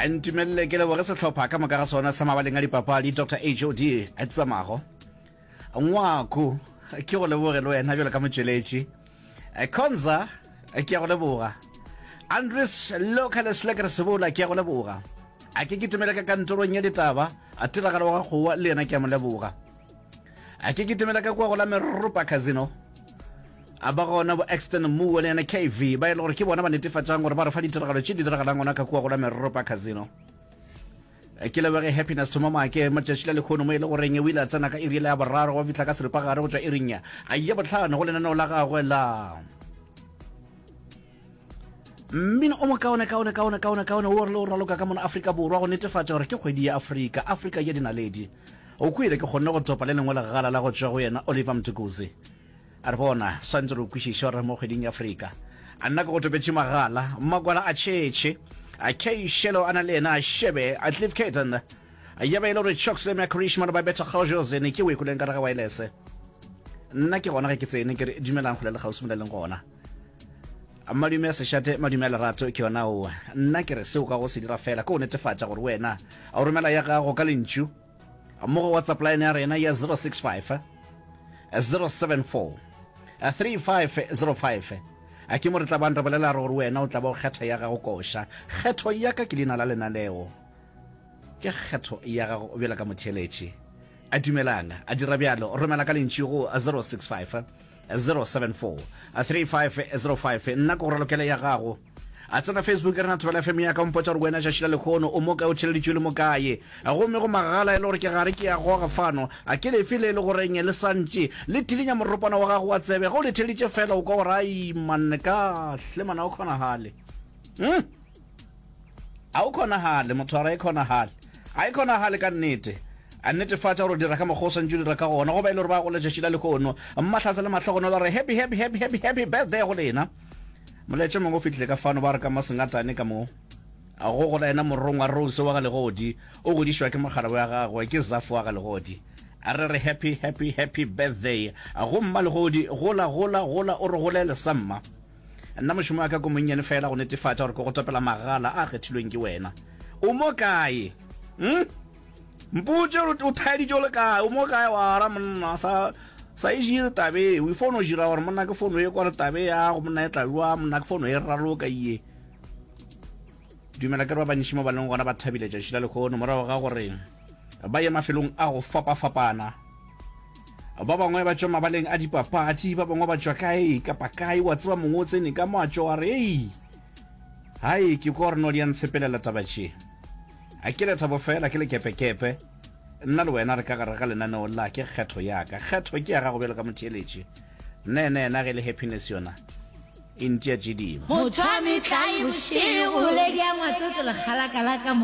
Ntumelele ke leboge sehlopha ka moka ga sona sa mabaleng a dipapadi, Doctor HOD Tsamago Ngwako, ke go leboge le wena bjalo ka motšweletši. Konza, ke a go leboga. Andries Localis Lekker Sebola, ke a go leboga. A ke kitimele ka kantorong ya ditaba, a tiragalo wa ga Kgowa le yena ke a mo leboga. A ke kitimele ka kua go la Meropa Casino, a ba gona bo Exton Moore le yena KV ba e le gore ke bona ba netefatšang gore ba re fa ditiragalo tše di diragalang gona ka kua go la Meropa Casino. Ke leboge Happiness Thoma Maake matšatši la lekhono mo e le goreng o ile a tsena ka iri ya boraro go fihla ka seripagare go tšwa iring ya botlhano go lenaneo la gagwe la Mmino o mokaone kaone kaone kaone kaone wo re le o raloka ka mona Afrika Borwa go netefatša gore ke kgwedi ya Afrika, Afrika ya dinaledi. O kwele ke kgonne go topa le lengwe legala la go tšwa go yena Oliver Mtukudzi. A re bona, swantse re o kwešiše gore mo kgweding ya Afrika. A nna ke go topetše magala, makwala a tšhetšhe, a Kay Shelo a na le yena a shebe, a Cliff Caton, ya ba e le gore Chocks le Makrishman ba betha kgaojozene ke o e kweleng ka re ga waelese. Nna ke gona ge ke tsene ke re dumelang kgole le kgauswi mo le leng gona. Madume a sešate, madume a lerato ke yona oa. Nna ke re seo ka go se dira fela ke go netefatša gore wena o romela ya gago ka lentšu mo go WhatsApp line ya rena ya 065 074 3505. A ke mo re tla bang re bolela re gore wena o tla ba o kgetha ya gago koša. Kgetho ya ka ke leina la lenaneo. Ke kgetho ya gago bjalo ka motheeletši. A dumelang, a dira bjalo, romela ka lentšu go 065 074 3505. Nna ke go ralokele ya gago. A tsena Facebook rena Thobela FM ya ka o mpotša gore wena tšatši la lekgono o mo kae o tšheleditšwe le mo kae. Gomme go magala e le gore ke gare ke ya goga fano. A ke lefe le e le goreng le santše le tilinya moropana wa gago wa tsebe ge o le theleditše fela o kwa gore ai manne ka hle mana o kgonagale. Hmm? A o kgonagale, motho a re a e kgonagale. A e kgonagale ka nnete. A netefatša gore o dira ka mokgwa o swantše o dira ka gona. Go ba e le gore ba go letšatši la lehono, Mmahlatse le Mahlogonolo re happy, happy, happy, happy, happy birthday go lena. Molaetša mongwe o fihlile ka fano, ba re ka Masengatane ka mo. A go gola yena morongwa Rose wa ga Legodi, o godišwa ke mogala wa gagwe, ke Zafo wa ga Legodi. A re re happy, happy, happy birthday go Mma Legodi, gola, gola, gola o re golele sa mma. Nna mošomo wa ka ko monnyane fela go netefatša gore ke go topela magala a kgethilweng ke wena. O mo kae? Hm? Mpotše gore o thaeditše o le kae? O mo kae wa ra monna sa sa e jire tabe o fono jira gore monna ke fono e kwa re tabe ya go monna e tla jwa monna ke fono e raloka iye. Dumela ke re ba bantši mo ba leng gona ba thabile tšatši la lehono morago ga gore ba ye mafelong a go fapafapana. Ba bangwe ba tšwa mabaleng a dipapadi, ba bangwe ba tšwa kae kapa kae, wa tseba mongwe o tsene ka mo a tšwa a re, Ei, hai, ke kwa gore no di a ntshepelela taba tše. A ke lethabo fela, ke lekepekepe. Nna le wena re ka gare ga lenaneo la ke kgetho ya ka. Kgetho ke ya gago bjalo ka motheeletši. Nna yena yena ge e le happiness yona e ntia tše dingwe. Motho a metlae bošego. Boledi ya Ngwatotse lekgalaka la ka mo.